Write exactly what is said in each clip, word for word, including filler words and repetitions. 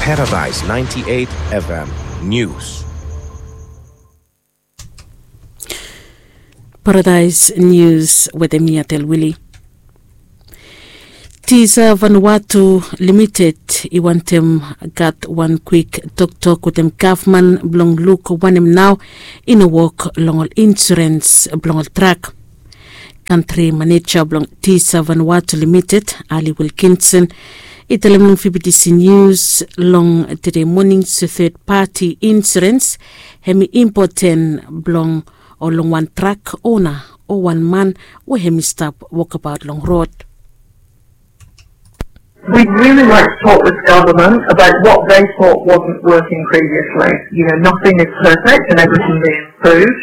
Paradise ninety-eight F M News. Paradise News wetem mi Atel Wili. Tisa Vanuatu Limited i wantem gat wan kwik toktok wetem gavman blong luk wanem nao i no wok long ol insurens blong ol trak. Kantri maneja blong Tisa Vanuatu Limited, Ali Wilkinson, i talem long V B T C News long tede moning se third party insurance hem i impoten blong o long wan trak ona o wan man we hem i stap wokabaot long rod. We'd really like to talk with government about what they thought wasn't working previously. You know, nothing is perfect and everything being improved.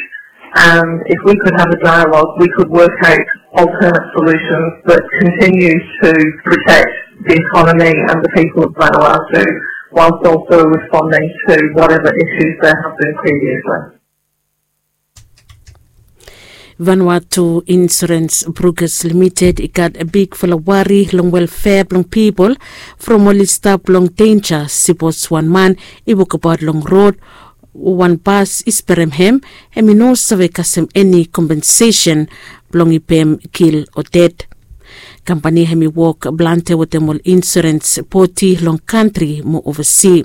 And if we could have a dialogue, we could work out alternate solutions that continue to protect the economy and the people of Vanuatu whilst also responding to whatever issues there have been previously. Vanuatu Insurance Brokers Limited i gat bigfala wari long welfea blong pipol from oli stap long denja sipos wan man i wokabaot long rod o wan bas i sperem hem, hem i no save kasem eni kompensesen blong i pem kil o ded. Kampani hem i wok plante wetem ol insurens bodi long kantri mo ovasi.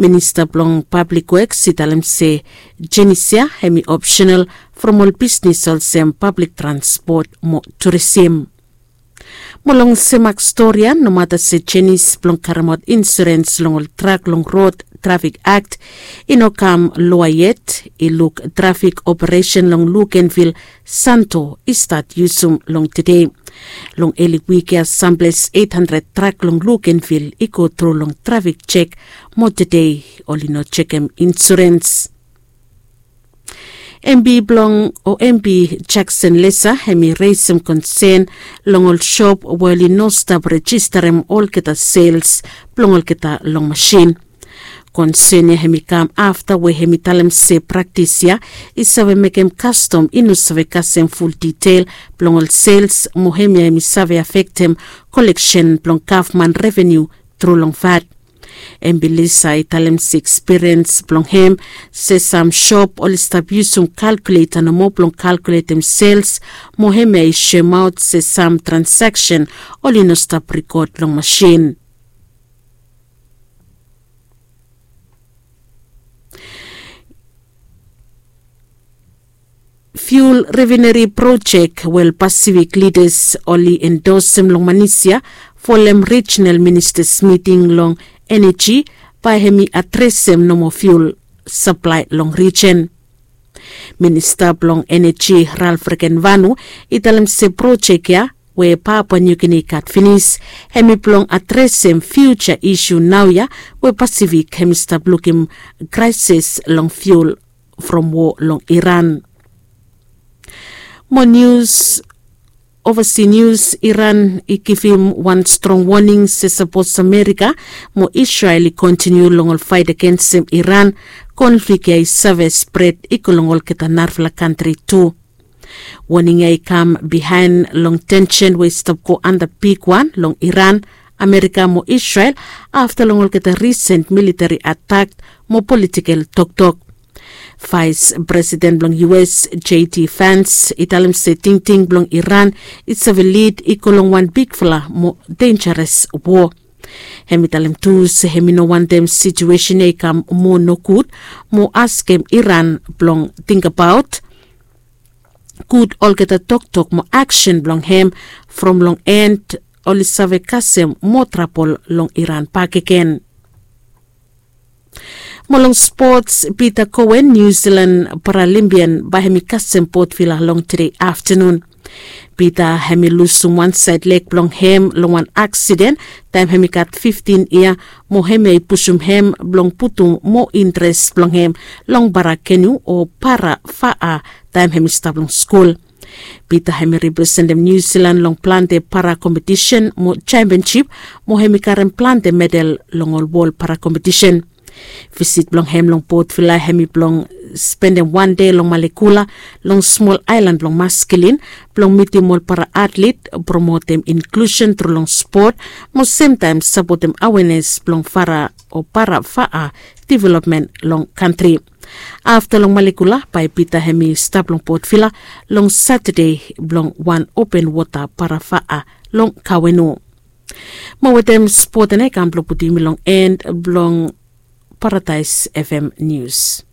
Minista blong Pablik Weks i talem se jenis ya hem i opsenal from ol bisnis olsem pablik transpot mo turisim. Mo long semak stori ya, nomata se jenis blong karemaot insurens long ol trak long rod trafik akt i no kam loa yet, i luk trafik operesen long lukenvil santo i stat yusum long tede. Long eli wik ya samples eight hundred trak long lukenvil i go tru long trafik jek mo tede oli no jekem insurens. Embi blong o embi jakson lesa hem i resem konsen long ol sop we oli no stap rejistarem olgeta sels blong olgeta long masin. Konsen ya hem i kam afta we hem i talem se praktis ya i save mekem kastom i no save kasem ful ditel blong ol sels mo hem ya hem i save afektem koleksen blong gavman revenu tru long vat. Embilisa i talem se ekspiriens blong hem se sam sop oli stap yusum kalkuleta nomo blong kalkuletem sels mo hem ya i soemaot se sam transaksen oli no stap rikod long masin. Fiul revineri projek we ol pasifik lidas oli endosem long manisia folem rijinal ministas miting long eneji bae hem i adresem nomo fiul saplae long rijin. Minista blong eneji ralf rekenvanu i talem se projek ya we papua niugini i gat finis hem i blong adresem fiuja isu naoia we pasifik hem i stap lukim kraesis long fiul from wo long iran. Mo nius, ovasi nius, iran i givim wan strong woning se sapos amerika mo israel i kontiniu long ol faet agensem iran, konflik ya i save spret i go long olgeta narafala kantri tu. Woning ya i kam bihaen long tensen we i stap go anda bigwan long iran, amerika mo israel afta long olgeta risen militari atak mo politikel toktok. Vaes presiden blong us j d vans i talem se tingting blong iran i save lid i go long wan bigfala mo denjares wo. Hem i talem tu se hem i no wantem situesen ya i kam moa nogud mo askem iran blong tingbaot gud olgeta toktok mo aksen blong hem from long en oli save kasem moa trabol long iran bakegen. Mo long spots, pita koen niu silan paralimpian bae hem i kasem botvila long tede aftanun. Pita hem i lusum wan saed leg blong hem long wan aksiden taem hem i gat fiftin yia mo hem ya i pusum hem blong putum moa intres blong hem long parakenu o para faa taem hem i stap long skul. Pita hem i representem niu silan long plante para kompetisen mo jempensip mo hem i karem plante medal long ol wol para kompetisen. Visit blong hem long Port Vila hemi blong spendem wan dei long Malekula, long smol aelan blong Maskilin, blong mitim ol para atlet, promotem inklusen tru long spot, mo semtaem sapotem awenes blong fara o para faa developmen long kantri. Afta long Malekula bae Pita hemi stap long Port Vila long Satade blong wan open wota para faa long Kawenu. Mo wetem spot ena i kam blong putum yumi long en blong Paradaes F M Nius.